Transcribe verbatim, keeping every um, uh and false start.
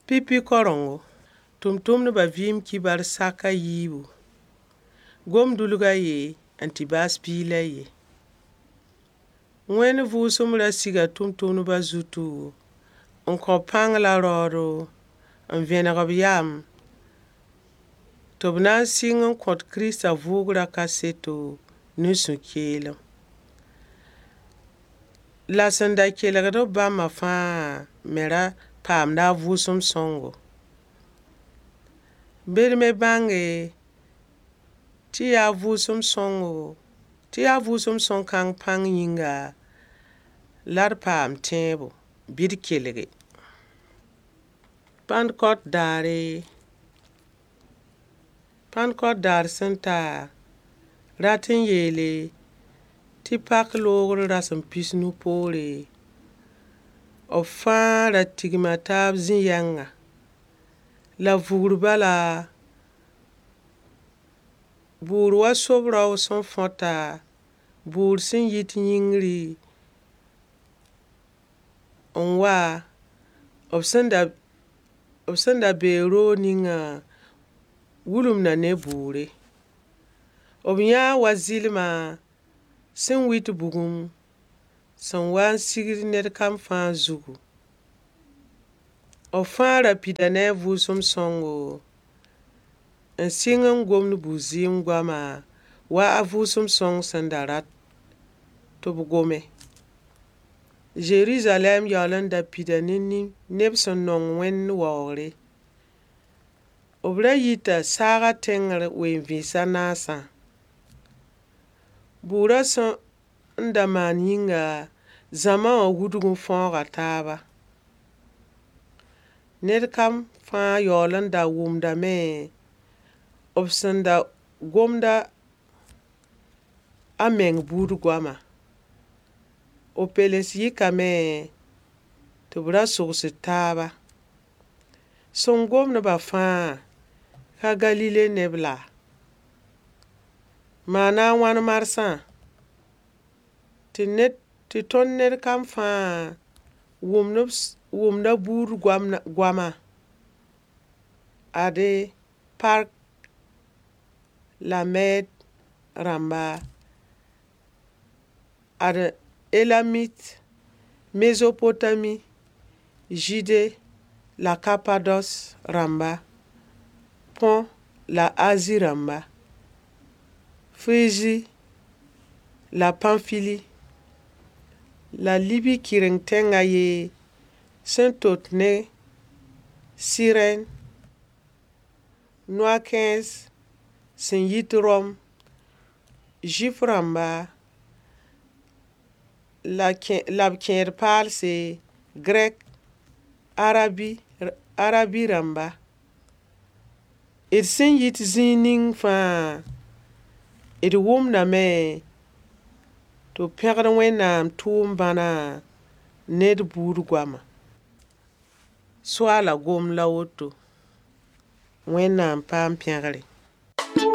Pipi korengo, tʋm-tʋmdbã vɩɩm kibar sak a yiibu. Gom-dulg a ye n tɩ baas piig la a ye. Wẽnd vʋʋsem ra siga tʋm-tʋmdbã zutu n kõ pãng la raoodo n vẽneg b yam tɩ b na n sɩng n kõt Kiristã vʋʋgrã kaseto ne sũ-keelem. La sẽn da kelgd b bãmbã fãa me ra paamda a Vʋʋsem Sõngo. Bd me bãnge tɩ yaa Vʋʋsem Sõngo tɩ yaa Vʋʋsem sõng kãng pãng yĩnga la d paam tẽebo bɩ d kelge. Pãndkot daare, Pãndkot daar sẽn ta, rat n yeele tɩ pak loogr rasem pis-nu poore, b fãa ra tigma taab zĩ-yɛngã. La vugr bala, bʋʋr wa sob-rao sẽn fõta, bʋʋr sẽn yit yĩngri n wa, b sẽn da b sẽn da bee roog ninga wilmda ne bʋʋre. B yãa wa zɩlma sẽn wit bugum sẽn wa n sigd ned kam fãa zugu. B fãa ra pida ne a Vʋʋsem Sõngo n sɩng n gomd bu-zɩɩm goama wa a Vʋʋsem Sõng sẽn da rat tɩ b gome. Zeruzalɛm yaool n da pida ne neb sẽn nong Wẽnd waoogre. B ra yita saagã tẽngr ween-vɩɩns a naasã. Bʋʋrã sẽn n da maan yĩnga, zãma wã wudg n fãooga taaba. Ned kam fãa yaool n da wʋmdame b sẽn da gomda a meng buud goama. B peles yikame tɩ b ra sogsd taaba. Sẽn gomd-bã fãa ka Galile neb laa? Maana a wãn marsã tɩ ned tɩ tõnd ned kam fãa wʋmd wʋmda buud goama? Ade Part la Mɛd rãmba, ad Elamit, Mezopotami, Zɩɩde la Kapados rãmba, Põ la Azi rãmba, Frizi la Pãnfili, la Libi kɩreng tẽng a ye sẽn tot ne Sirɛn, noa-kãens sẽn yit Rom, Zʋɩf rãmba la la b kẽed paalse, Grɛk, Arabi Arabi rãmba. D sẽn yit zĩig ning fãa, d wʋmdame tɩ b pẽgd Wẽnnaam tʋʋm-bãna ne d buud goama. Soaala gomd la woto. Wẽnnaam paam pẽgre.